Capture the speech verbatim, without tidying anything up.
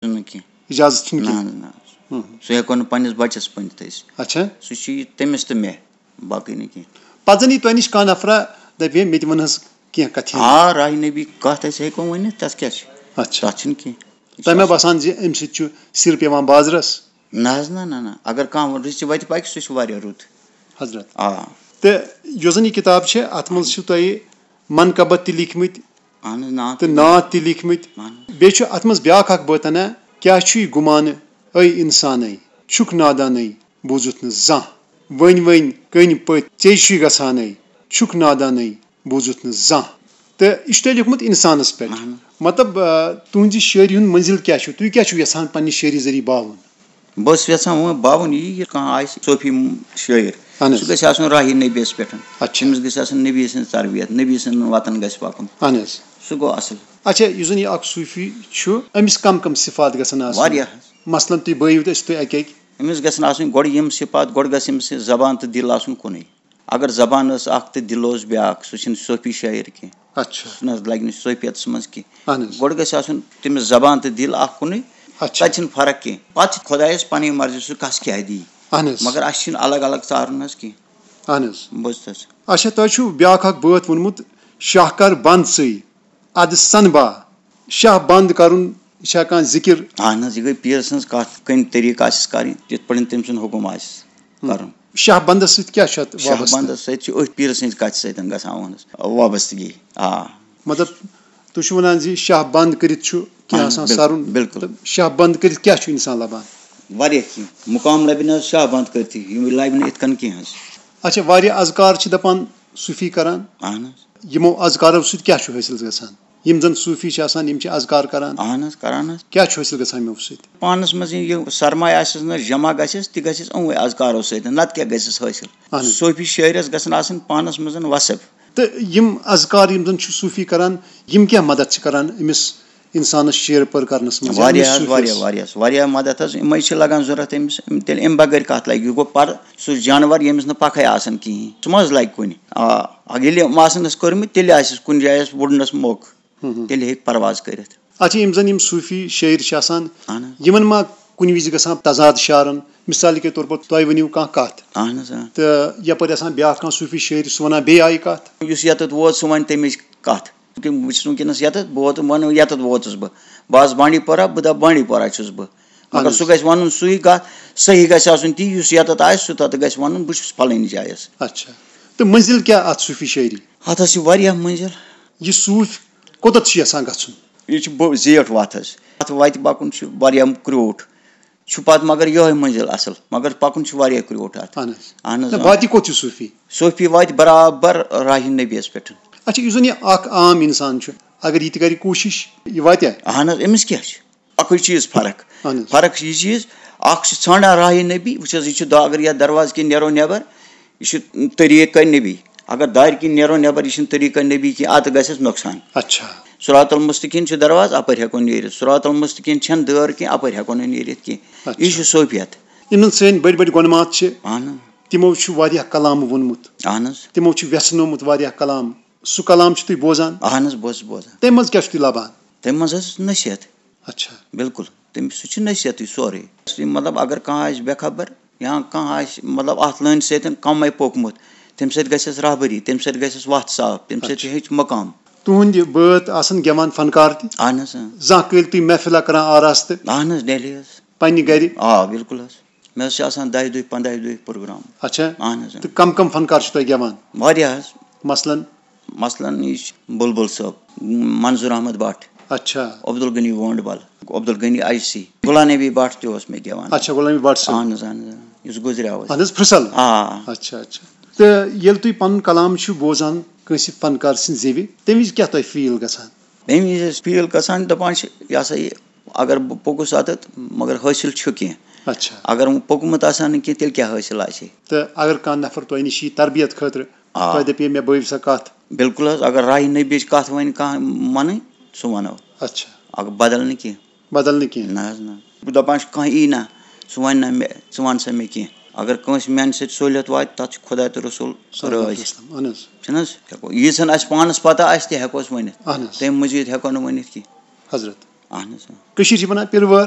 نہٕ کینٛہہ۔ اجازت چھُنہٕ نہ کینٛہہ۔ نہ نہ۔ سُہ ہیٚکو نہٕ پننِس بچس پٔنِتھ أسۍ۔ اچھا۔ سُہ چھُ یہِ تٔمِس تہٕ مےٚ، باقٕے نہٕ کینٛہہ۔ پتہٕ زن یی تۄہہِ نِش کانٛہہ نفرا دپہِ ہے مےٚ تہِ وَن حظ کینٛہہ کتھِ۔ آ، راہہِ نبی کتھ أسۍ ہیٚکو ؤنِتھ، تتھ کیٛاہ چھِ؟ اچھا۔ تتھ چھُنہٕ کینٛہہ۔ تۄہہِ ما باسان زِ امہِ سۭتۍ چھُ سِر پیوان بازرس؟ نہ حظ نہ نہ نہ۔ اگر کانٛہہ رٕژِ وتہِ پکہِ، سُہ چھُ واریاہ رُت۔ حضرت۔ آ۔ تہٕ یۄس زن یہِ کتاب چھِ اتھ منٛز چھِ تۄہہِ منقبت تہِ لیکھمٕتۍ اہن حظ، نعت تہٕ نعت تہِ لیکھمٕتۍ۔ اہن حظ۔ بیٚیہِ چھُ اتھ منٛز بیاکھ اکھ بٲتنا، کیٛاہ چھُے گُمانہٕ اے انسانے، چھُکھ نادانے، بوٗزُتھ نہٕ زانٛہہ۔ وۄنۍ وۄنۍ کٔنۍ پٔتۍ ژے چھُے گژھانے، چھُکھ نادانے، بوٗزُتھ نہٕ زانٛہہ۔ تہٕ یہِ چھُ تۄہہِ لیوٗکھمُت انسانس پٮ۪ٹھ۔ اہن۔ مطلب، آ، تُہنٛزِ شٲعری ہُنٛد منزل کیٛاہ چھُ؟ تُہۍ کیٛاہ چھِو یژھان پننہِ شٲعری ذٔریعہٕ باوُن؟ بہٕ اوسُس یژھان وۄنۍ باوُن یی، یہِ کانٛہہ آسہِ صوفی شٲعر، اہن حظ۔ سُہ گژھِ آسُن راہی نبیَس پٮ۪ٹھ۔ اچھا۔ تٔمِس گژھِ آسُن نبی سٕنٛز تربیت، نبی سٕنٛدٮ۪ن وتن گژھِ پکُن۔ اہن حظ۔ سُہ گوٚو اصل۔ اچھا، یُس زن یہِ اکھ صوفی چھُ، أمِس کم کم صفات گژھن آسٕنۍ؟ واریاہ حظ۔ مثلاً تُہۍ بٲیِو تہٕ أسۍ تُہۍ اکہِ اکہِ۔ أمِس گژھن آسٕنۍ گۄڈٕ یِم صفات، گۄڈٕ گژھِ أمِس یہِ زبان تہٕ دِل آسُن کُنُے۔ اگر زبان ٲس اکھ تہٕ دِل اوس بیٛاکھ، سُہ چھُنہٕ صوفی شٲعر کینٛہہ۔ اچھا۔ سُہ نہ حظ لگہِ نہٕ صوفیتس منٛز کینٛہہ۔ اہن حظ۔ گۄڈٕ گژھِ آسُن تٔمِس زبان تہٕ دِل اکھ کُنُے۔ اچھا۔ تتہِ چھِنہٕ فرق کینٛہہ۔ پتہٕ چھِ خۄدایس پنٕنۍ مرضی، سُہ کس کیٛاہ دی۔ اہن حظ۔ مگر اسہِ چھُنہٕ الگ الگ ژارُن حظ کینٛہہ۔ اہن حظ۔ بوٗزتھس۔ اچھا، تۄہہِ چھُو بیٛاکھ اکھ بٲتھ ووٚنمُت، شاہ کر بند ژٕے، ادٕ سن با۔ شاہ بند کرُن، یہِ چھا کانٛہہ ذکر؟ اہن حظ، یہِ گٔے پیٖر سٕنٛز کتھ، کمہِ طریٖقہٕ آسٮ۪س کرٕنۍ، یِتھ پٲٹھۍ تٔمۍ سُنٛد حُکُم آسہِ کرُن۔ شاہ بندس سۭتۍ کیٛاہ چھُ اتھ شاہ وابستہٕ؟ بندس سۭتۍ چھِ أتھۍ پیٖر سٕنٛزِ کتھِ سۭتۍ گژھان اہنس وابستگی۔ آ۔ مطلب، تُہۍ چھِو ونان زِ شاہ بند کٔرِتھ چھُ کینٛہہ اہن، آسان بِل-، سرُن۔ بِلکُل۔ تہٕ شاہ بند کٔرِتھ کیٛاہ چھُ انسان لبان؟ واریاہ کینٛہہ مُقام لبہِ نہٕ حظ شاہ بند کٔرتھٕے، یِم لبہِ نہٕ یِتھ کٔنۍ کینٛہہ حظ۔ اچھا، واریاہ اذکار چھِ دپان صوفی کران، اہن حظ۔ یِمو اذکارو سۭتۍ کیٛاہ چھُ حٲصِل گژھان؟ یِم زن صوفی چھِ آسان، یِم چھِ اذکار کران، اہن حظ، کران حظ۔ کیٛاہ چھُ حٲصِل گژھان یِمو سۭتۍ؟ پانس منٛز یہِ سرمایہ آسٮ۪س نہ جمع گژھٮ۪س، تہِ گژھٮ۪س یِموٕے اذکارو سۭتۍ، نتہٕ کیٛاہ گژھٮ۪س حٲصِل؟ اہن حظ۔ صوفی شٲعرس گژھن آسٕنۍ پانس منٛز وصف۔ تہٕ یِم اذکار یِم زن چھُ صوفی کران، یِم کیٛاہ مدد چھِ کران أمِس انسانس شعر پٲر کرنس منٛز، یا واریاہ أمِس حظ، صوفیس؟ واریاہ، واریاہ، واریاہ مدد حظ، یِمے چھِ لگان ضروٗرت أمِس، أمۍ تیٚلہِ اَمہِ بغٲر کَتھ لگہِ؟ یہِ گوٚو پَرٕ، سُہ جانور ییٚمِس نہٕ پَکھَے آسان کِہیٖنۍ، سُہ ما حظ لگہِ کُنہِ؟ آ، اگر ییٚلہِ یِم آسَن اَسہِ کٔرمٕتۍ، تیٚلہِ آسٮ۪س کُنہِ جایہِ اَسہِ وُڈنَس موقعہٕ، ہُم ہُم۔ تیٚلہِ ہیٚکہِ پرواز کٔرِتھ۔ اچھا، یِم زَن یِم صوٗفی شٲعر چھِ آسان، اَہَن حظ۔ یِمَن ما کُنہِ وِزِ گژھان تضاد شعرَن؟ مثال کے طور پر تۄہہِ ؤنِو کانٛہہ کَتھ، اَہَن حظ، آ۔ تہٕ یَپٲرۍ آسان بیٛاکھ کانٛہہ صوٗفی شٲعر، سُہ وَنان بیٚیہِ آیہِ کَتھ۔ یُس یَتَتھ ووت، سُہ وَنہِ تَمِچ کَتھ۔ کہِ بہٕ چھُس وٕنکیٚنَس یَتَتھ، بہٕ ووتُس، وَنہٕ یَتَتھ ووتُس بہٕ۔ بہٕ آسہٕ بانڈی پورہ، بہٕ دَپہٕ بانڈی پورہ چھُس بہٕ۔ مگر اَہَن سُہ حظ۔ گژھِ وَنُن سُے کَتھ، صحیح گژھِ آسُن تی، یُس یَتَتھ آسہِ، سُہ تَتھ گژھِ وَنُن، بہٕ چھُس فَلٲنۍ جایہِ حظ۔ اچھا۔ تہٕ مٔنزِل کیٛاہ اَتھ صوٗفی شٲعری؟ اَتھ حظ چھِ واریاہ مٔنزِل۔ یہِ صوٗفۍ کوٚتَتھ چھُ یَژھان گژھُن؟ یہِ چھِ بٔ-، زیٖٹھ وَتھ حظ۔ اَتھ وَتہِ پَکُن چھُ واریاہ کرٛوٗٹھ۔ چھُ پَتہٕ مگر یِہوٚے مٔنزِل اَصٕل، مگر پَکُن چھُ واریاہ کرٛوٗٹھ اَتھ۔ اَہَن حظ۔ اَہَن حظ، نہ، آ۔ واتہِ کوٚت یہِ صوٗفی؟ صوٗفی واتہِ برابر راہہِ نبیَس پٮ۪ٹھ۔ اچھا، یُس زَن یہِ اَکھ عام اِنسان چھُ، اگر یہِ تہِ کَرِ کوٗشِش، یہِ واتیٛا؟ اَہَن حظ، أمِس کیٛاہ چھُ؟ اَکُے چیٖز فرق۔ اَہَن حظ۔ فرق چھِ یہِ چیٖز، اَکھ چھُ ژھانٛڈان راہہِ نبی، وٕچھ حظ، یہِ چھُ دَ-، اگر یَتھ دروازٕ کِنۍ نیرو نٮ۪بر، یہِ چھُ طریٖقہ نبی۔ اگر دارِ کِنۍ نیرو نٮ۪بر، یہِ چھُنہٕ طریٖقہ نبی کینٛہہ، اَتھ گژھٮ۪س نۄقصان۔ اچھا۔ صراط المستقیم چھُ دروازٕ، اَپٲرۍ ہٮ۪کو نیٖرِتھ۔ صراط المستقیم چھَنہٕ دٲر کینٛہہ، اَپٲرۍ ہٮ۪کو نہٕ نیٖرِتھ کینٛہہ۔ اچھا۔ یہِ چھُ صوفیت۔ یِم زَن سٲنۍ بٔڑۍ بٔڑۍ گۄنمات چھِ، اَہَن۔ تِمو چھُ واریاہ کلام ووٚنمُت۔ اَہَن حظ۔ تِمو چھُ وٮ۪ژھنومُت واریاہ کلام۔ سُہ کلام چھِ تُہۍ بوزان؟ اَہَن حظ، بہٕ اوسُس بوزان۔ تَمہِ منٛز کیٛاہ چھُ تُہۍ لَبان؟ تَمہِ منٛز حظ چھِ نصیحت۔ اچھا۔ بِلکُل۔ تٔمِس سُہ چھُ نصیحتٕے سورُے۔ مطلب، اگر کانٛہہ آسہِ بے خبر یا کانٛہہ آسہِ، مطلب، اَتھ لٲنہِ سۭتۍ کَمٕے پوٚکمُت، تَمہِ سۭتۍ گژھٮ۪س رہبری، تَمہِ سۭتۍ گژھٮ۪س وَتھ صاف، تَمہِ سۭتۍ اچھا۔ ہیٚچھ مقام۔ تُہٕنٛدۍ بٲتھ آسَن گٮ۪وان فنکار تہِ؟ اَہَن حظ، اۭں۔ زانٛہہ کٔرۍ تُہۍ محفلہ کران آراستہٕ؟ اَہَن حظ، ڈیلی حظ۔ پننہِ گرِ؟ آ، بِلکُل حظ۔ مےٚ حظ چھِ آسان دَہہِ دۄہہِ، پنٛداہہِ دۄہہِ پروگرام۔ اچھا۔ اَہَن حظ، اۭں۔ تہٕ کَم کَم فنکار چھِ تۄہہِ گٮ۪وان؟ واریاہ حظ۔ مثلاً؟ مثلاً، یہِ چھُ بُلبُل صٲب، منظور احمد بٹ۔ اچھا۔ عبدالغنی وونڈ بل، عبدالغنی اجسی، غلام نبی بٹ تہِ اوس مےٚ گٮ۪وان۔ اچھا، غلام نبی بٹ صٲب۔ اہن حظ، اہن حظ، اہن حظ۔ یُس گُزریو حظ۔ اہن حظ، پھرسل۔ آ۔ اچھا، اچھا۔ تہٕ ییٚلہِ تُہۍ پنُن کلام چھِو بوزان کٲنٛسہِ فنکار سٕنٛدِ زیوِ، تَمہِ وِزِ کیٛاہ تۄہہِ فیٖل گژھان؟ تَمہِ وِزِ ٲسۍ فیٖل گژھان، دَپان چھِ، یہِ ہسا یہِ، اگر بہٕ پوٚکُس اَتٮ۪تھ، مگر حٲصِل چھُ کینٛہہ۔ اچھا۔ اگر وۄنۍ پوٚکمُت آسان نہٕ کینٛہہ، تیٚلہِ کیٛاہ حٲصِل آسہِ ہے؟ تہٕ اگر کانٛہہ نفر تۄہہِ نِش یی تربیت خٲطرٕ، آ۔ تۄہہِ دَپہِ ہے، مےٚ بٲوِو سا کَتھ۔ بِلکُل حظ، اگر راہہِ نبیِچ کَتھ وَنہِ کانٛہہ مَنٕنۍ، سُہ وَنو۔ اچھا۔ اگر بدل نہٕ کینٛہہ۔ بدل نہٕ کینٛہہ۔ نہ حظ نہ۔ بہٕ دَپان چھُس، کانٛہہ یی نہ، سُہ وَنہِ نہ مےٚ، ژٕ وَن سا مےٚ کینٛہہ۔ اگر کٲنٛسہِ میٛانہِ سۭتۍ سہوٗلیت واتہِ، تَتھ چھُ خۄدا تہٕ رسول صلی اللہ علیہ رٲضۍ۔ وسلم، اہن حظ۔ چھُنہٕ حظ؟ ہٮ۪کو، ییٖژ ہن اَسہِ پانَس پَتہ آسہِ، تہِ ہٮ۪کو أسۍ ؤنِتھ۔ اہن حظ۔ تَمہِ مٔزیٖد ہٮ۪کو نہٕ ؤنِتھ کینٛہہ۔ حضرت۔ اہن حظ۔ کٔشیٖرِ چھِ وَنان پِلوٲر۔